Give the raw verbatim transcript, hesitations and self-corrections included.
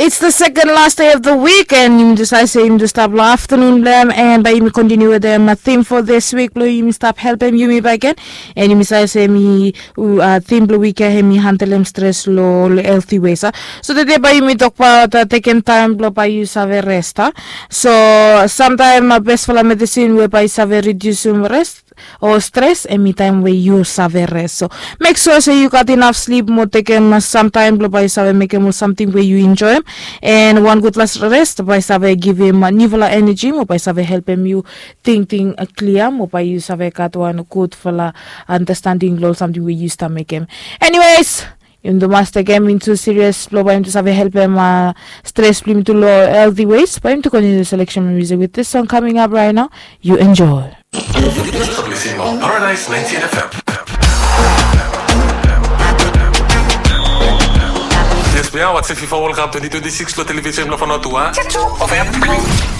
It's the second last day of the week, and yumi tu save se yumi tu stap long afternoon blem, and bai yumi continue with them a theme for this week. Blong yumi stap helpem yumi back again, and yumi save se mi uh, theme blong week ya hemi handlem stress lo, lo healthy ways. Uh. So today bai yumi talk about uh, taking time blong bai you save rest. Uh. So sometime uh, best for medicine where bai save reduce um rest o stres, emi taem we yu save res. So mek sua se yu gat inaf slip mo tekem samtaem blong bae yu save mekem ol samting we yu enjoem. En wan gudfala res bae save givim niufala eneji mo bae save helpem yu tingting klia mo bae yu save gat wan gudfala andastanding long ol samting we yu stap mekem. Eniwes, yumi tu mas tekem intu sirias blong bae yumi tu save helpem stres blong yumi tu long healthy ways. Bae yumi tu kontiniu seleksen blong music with this song coming up right now. You enjoy. You're listening on Paradise ninety-eight F M. Yes, we are watching FIFA World Cup twenty twenty-six lo television lo Fanotua. F M.